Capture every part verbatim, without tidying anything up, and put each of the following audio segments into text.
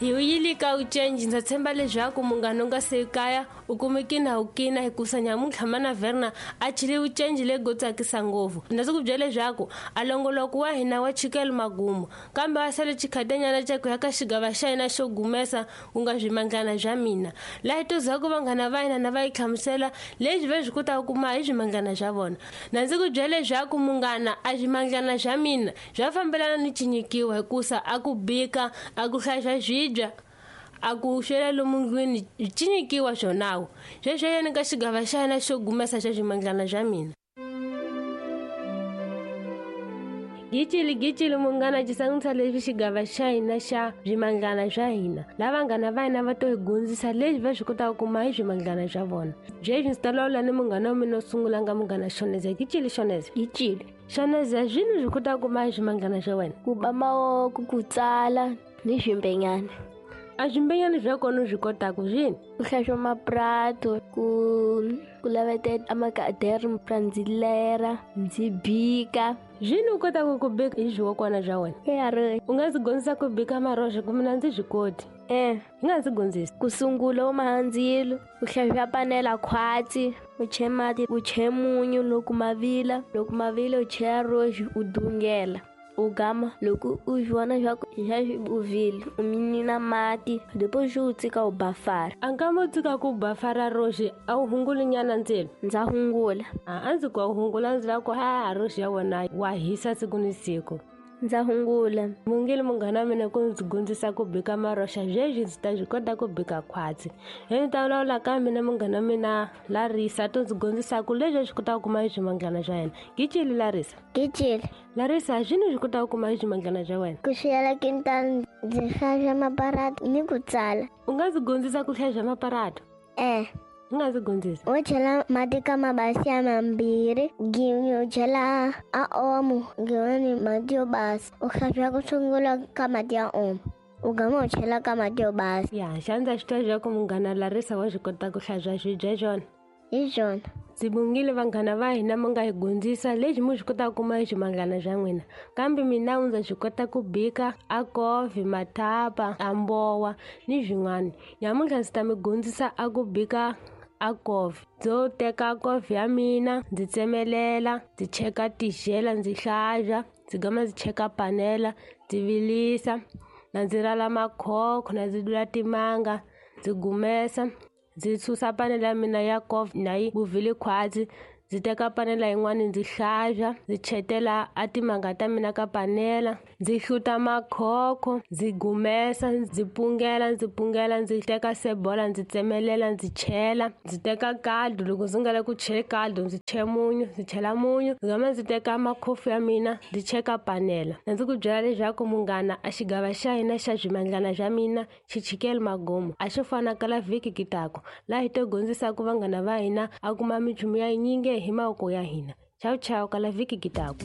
Hi wuyile ka ucenji ndza tshemba leswaku munghana u nga se kaya u kumeke na u kina hikusa nyamuntlha mana Verna a chile ucenji lego tsakisa ngopfu. Ndza ku byela leswaku a longoloko wa hina wa chikela magumu kambe a sale chikhatanyana xa ku ya ka xigava xa hina xo gumesa ku nga swimandlana bya mina. Laha hi tozaku vanghana va hina na va yi hlamusela leswi va swi kotaka ku kuma hi swimandlana swa vona. Na ndzi ku byela leswaku munghana a swimandlana swa mina bya fambelana ni cinyikiwa hikusa a ku bika a ku hlayisa swibya a ku xela lomu ndlwini cinyikiwa swonawo. Sweswo yena ka xigava xa hina xo gumesa xa swimandlana swa mina. Gicili gicili munghana xisangisa leswi xigava xa hina xa swimandlana swa hina. Lava vanghana va hina va to hi gundzisa leswi va swi kotaka ku kuma hi swimandlana swa vona. Sweswi ndzi ta lawula ni munghana wa mina wo sungula nga munghana Shoneza. Gicili Shoneza. Gicili. Shoneza swini swi kotaka ku kuma hi swimandlana swa wena? Ku ba mavoko, ku tsala ni swimbenyana. A swimbenyana swa kona u swi kotaka swini? Ku hlantswa mapurato, ku ku lavetela amakadere ndzi lera, ndzi bika. Swini u kotaka ku bika hi swiwokwana swa wena? Ya. U nga ndzi dyondzisa ku bika maroxa ku mina ndzi swi koti. Eh. U nga ndzi dyondzisa. Ku sungula u maha ndzilo, u hlantswa panela khwatsi, u che mati, u che munyu loko ma vila, loko ma vila u chela roxi u dungela. U gama loko u vona leswaku xa u vile u minina mati depois u tshika u bafara. A nkama u tshika ku bafara roxi a wu hunguli nyana ndzilo? Ndza hungula. A a ndzi ku a wu hungula ndzi lava ku ha roxi ya wena wa hisa siku ni siku. Ndza hungula. Mungile munghana wa mina ku ndzi dyondzisa ku bika maroxa sweswi ndzi ta swi kota ku bika khwatsi. Hi ndzi ta vulavula ka mina munghana wa mina Larisa to ndzi dyondzisa ku leswi swi kotaka ku kuma hi swimandlana swa yena. Gicili Larisa. Gicili. Larisa swini swi kotaka ku kuma hi swimandlana swa wena? Ku xiyela kintani ndzi hlantswa maparata ni ku tsala. U nga ndzi dyondzisa ku hlantswa maparata? Eh. U nga ndzi dyondzisa. U chela mati ka mabasi ya mambirhi, gin'we u chela a omo, gin'wani mati yo basa. U hlantswa ku sungula ka mati ya omo, u gama u chela ka mati yo basa. Ya, xa ndza swi twa leswaku munghana Larisa wa swi kota ku hlantswa swibya swona. Hi swona. Ndzi bongile vanghana va hina mi nga hi dyondzisa leswi mi swi kotaka ku kuma hi swimandlana swa n'wina. Kambe mina ndza swi kota ku bika a kofi, mathapa, a mbowa ni swin'wana. Nyamuntlha ndzi ta mi dyondzisa a ku bika a kofi. Ndzo teka kofi ya mina ndzi tsemelela, ndzi cheka tixela, ndzi hlantswa, ndzi gama ndzi cheka panela, ndzi vilisa, na ndzi rala makhokho, na ndzi dula timanga, ndzi gumesa. Ndzi susa panela ya mina ya kofi na yi vuvile khwatsi, ndzi teka panela yin'wana ndzi hlantswa, ndzi chetela a timanga ta mina ka panela, ndzi hluta makhokho, ndzi gumesa, ndzi pungela, ndzi pungela, ndzi teka sebola ndzi tsemelela, ndzi chela, ndzi teka caldo. Loko ndzi nga lavi ku chela caldo ndzi chela munyu, ndzi chela munyu, ndzi gama ndzi teka makhofu ya mina ndzi cheka panela. Na ndzi ku byela leswaku munghana a xigava xa hina xa swimandlana swa mina xi chikele magomo a xo fana kala vhiki kitako laha hi to dyondzisaka vanghana va hina a kuma minchumu ya yinyingi hi mavoko ya hina. Chau chau kala vhiki kitako.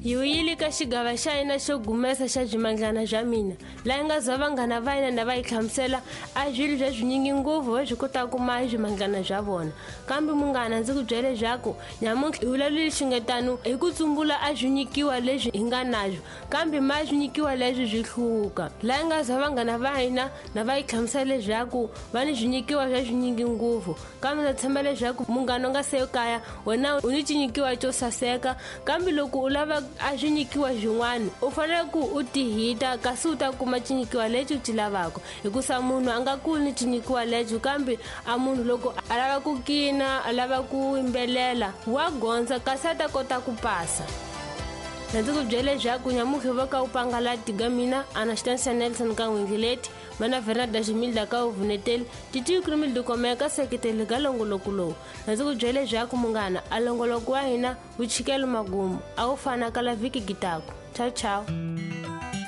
Hi wuyile ka xigava xa hina xo gumesa xa swimandlana swa mina. Laha nga za vanghana va hina na va yi hlamusela a swilo swa swinyingi ngopfu va swi kotaka ku kuma hi swimandlana swa vona. Kambe munghana ndzi ku byela leswaku nyamuntlha hi vulavulile xingetano hi ku tsumbula a swi nyikiwa leswi hi nga naswo, kambe ma swi nyikiwa leswi swi hluka. Laha nga za vanghana va hina na va yi hlamusela leswaku va ni swinyikiwa swa swinyingi ngopfu, kambe ndza tshemba leswaku munghana u nga se kaya wena u ni xinyikiwa xo saseka, kambe loko u lava a swi nyikiwa swin'wana u fanele ku u tihita kasi u ta kuma xinyikiwa lexi u xi lavaka. Hikusa munhu a nga kuli ni xinyikiwa lexo, kambe a munhu loko a lava ku kina, a lava ku yimbelela wa gondza kasi a ta kota ku pasa. Na ndzi ku byela leswaku nyamuntlha va ka u pangala tiga mina Anastasia Nelson ka n'wingileti, mana Fernanda Ximilda ka uvuneteli, Titi Krimilda komeka seketeli ka longoloko lowu. Na ndzi ku byela leswaku munghana a longoloko wa hina wu chikele magumu a wu fana kala vhiki kitako. Chau chau.